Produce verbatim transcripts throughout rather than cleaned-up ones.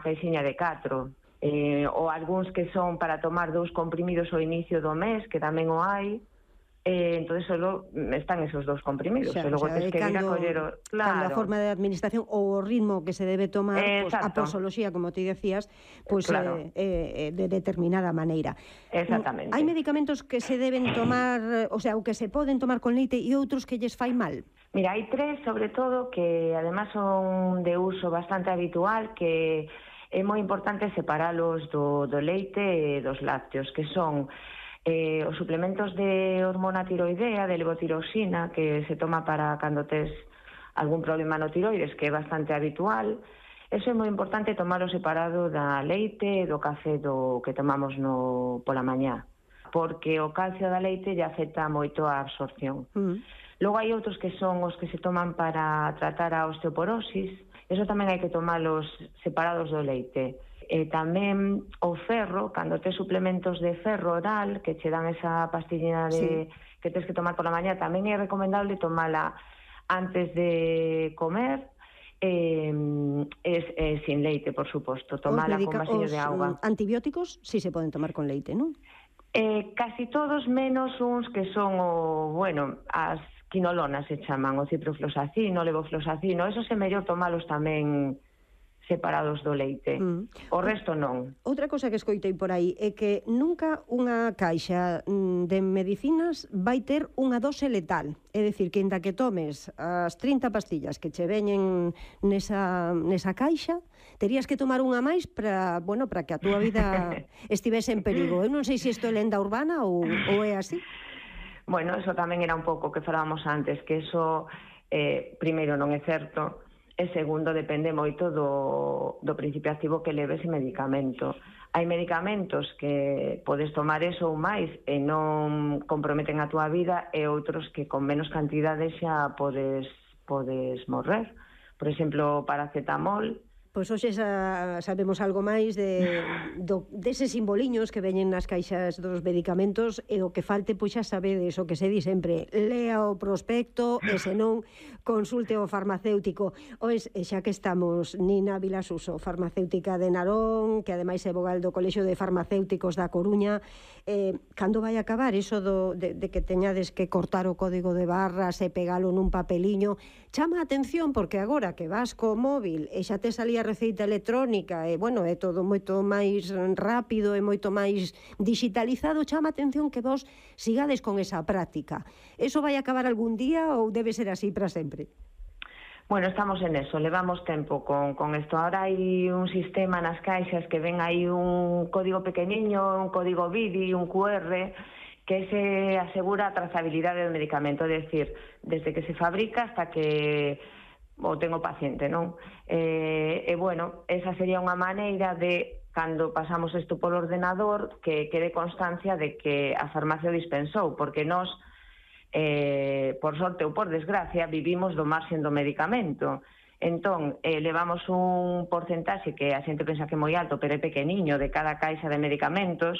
caixiña de catro. Eh, ou algúns que son para tomar dous comprimidos ao inicio do mes, que tamén o hai, eh, entonces solo están esos dous comprimidos, xa, e logo xa, tens que cando, ir a coller o... Claro. Cando a forma de administración ou o ritmo que se debe tomar, pues, a posoloxía, como ti decías, pues, claro. eh, eh, de determinada maneira. Exactamente. Hai medicamentos que se deben tomar, o sea, o que se poden tomar con leite e outros que lles fai mal? Mira, hai tres, sobre todo, que además son de uso bastante habitual, que é moi importante separalos do, do leite e dos lácteos, que son eh, os suplementos de hormona tiroidea, de levotiroxina, que se toma para cando tes algún problema no tiroides, que é bastante habitual. Eso é moi importante tomalo separado da leite e do café do que tomamos no pola mañá, porque o calcio da leite lle afecta moito a absorción. Mm. Logo hai outros que son os que se toman para tratar a osteoporosis. Eso tamén hai que tomalos separados do leite. E tamén o ferro, cando tes suplementos de ferro oral, que che dan esa pastillina de, sí. que tens que tomar por la mañá, tamén é recomendable tomala antes de comer, eh, es, eh, sin leite, por suposto. Tomala con vasiño de auga. Os antibióticos sí se poden tomar con leite, non? Eh, casi todos, menos uns que son o, bueno, as quinolonas se chaman, o ciprofloxacino, o levofloxacino, esos é mellor tomalos tamén separados do leite. Mm. O resto non. Outra cosa que escoitei por aí é que nunca unha caixa de medicinas vai ter unha dose letal. É dicir, que inda que tomes as trinta pastillas que che veñen nesa, nesa caixa, terías que tomar unha máis para, bueno, para que a túa vida estivese en perigo. Eu non sei se isto é lenda urbana ou, ou é así. Bueno, eso tamén era un pouco que falábamos antes, que eso, eh, primeiro, non é certo, e segundo, depende moito do, do principio activo que leve ese medicamento. Hai medicamentos que podes tomar eso ou máis e non comprometen a túa vida, e outros que con menos cantidade xa podes, podes morrer. Por exemplo, paracetamol. Pois hoxe xa sabemos algo máis de, do, deses simboliños que veñen nas caixas dos medicamentos, e o que falte, pois xa sabedes o que se di sempre, lea o prospecto e senón consulte o farmacéutico. Oes, xa que estamos, Nina Vilasuso, farmacéutica de Narón, que ademais é vogal do Colexio de Farmacéuticos da Coruña, eh, cando vai acabar iso do, de, de que teñades que cortar o código de barras e pegalo nun papeliño? Chama a atención porque agora que vas co móvil e xa te salía a receita electrónica e, bueno, é todo moito máis rápido e moito máis digitalizado, chama a atención que vos sigades con esa práctica. Eso vai acabar algún día ou debe ser así para sempre? Bueno, estamos en eso, levamos tempo con, con esto. Ahora hai un sistema nas caixas que ven aí un código pequeniño, un código B I D I, un Q R, que se asegura a trazabilidade do medicamento, é dicir, desde que se fabrica hasta que o tengo paciente, non? E, e bueno, esa sería unha maneira de, cando pasamos isto polo ordenador, que quede constancia de que a farmacia o dispensou, porque nós, eh, por sorte ou por desgracia, vivimos do marxen do medicamento. Entón, eh, levamos un porcentaxe que a xente pensa que é moi alto, pero é pequeniño, de cada caixa de medicamentos.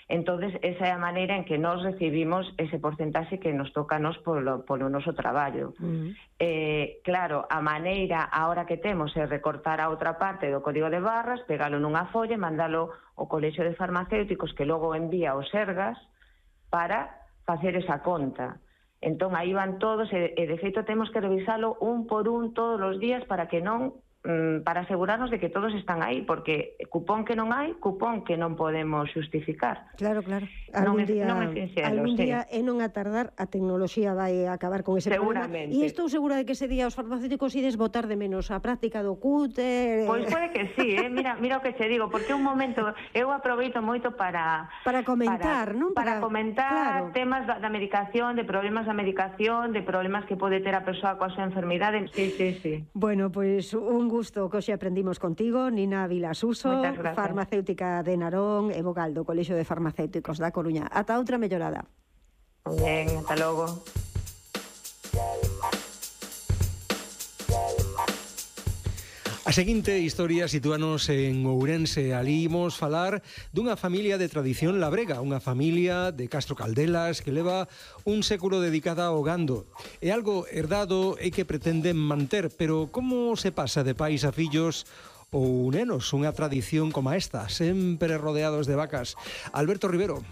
Entonces, esa é a maneira en que nós recibimos ese porcentaxe que nos toca a nos polo, polo noso traballo. Uh-huh. Eh, claro, a maneira ahora que temos é recortar a outra parte do código de barras, pegalo nunha folla e mandalo ao Colexio de Farmacéuticos, que logo envía os Sergas para facer esa conta. Entón, aí van todos, e, e de feito temos que revisalo un por un todos os días para que non para asegurarnos de que todos están aí, porque cupón que non hai, cupón que non podemos xustificar. Claro, claro. Algún día, non é sincero, algún día sí. E non a tardar, a tecnoloxía vai acabar con ese problema. E estou segura de que ese día os farmacéuticos ides botar de menos a práctica do cúter. Pois pode que sí, eh? mira, mira o que te digo, porque un momento eu aproveito moito para para comentar, para, non? Para, para comentar claro. temas da, da medicación, de problemas da medicación, de problemas que pode ter a persoa coa súa enfermidade. Sí, sí, sí. Bueno, pois pues, un gusto que hoxe aprendimos contigo, Nina Vilasuso, farmacéutica de Narón e vogal do Colexio de Farmacéuticos da Coruña. Ata outra mellorada. Ben, ata logo. A seguinte historia sitúanos en Ourense. Ali imos falar dunha familia de tradición labrega, unha familia de Castro Caldelas que leva un século dedicada ao gando. É algo herdado e que pretenden manter, pero como se pasa de pais a fillos ou nenos, unha tradición como esta, sempre rodeados de vacas. Alberto Rivero.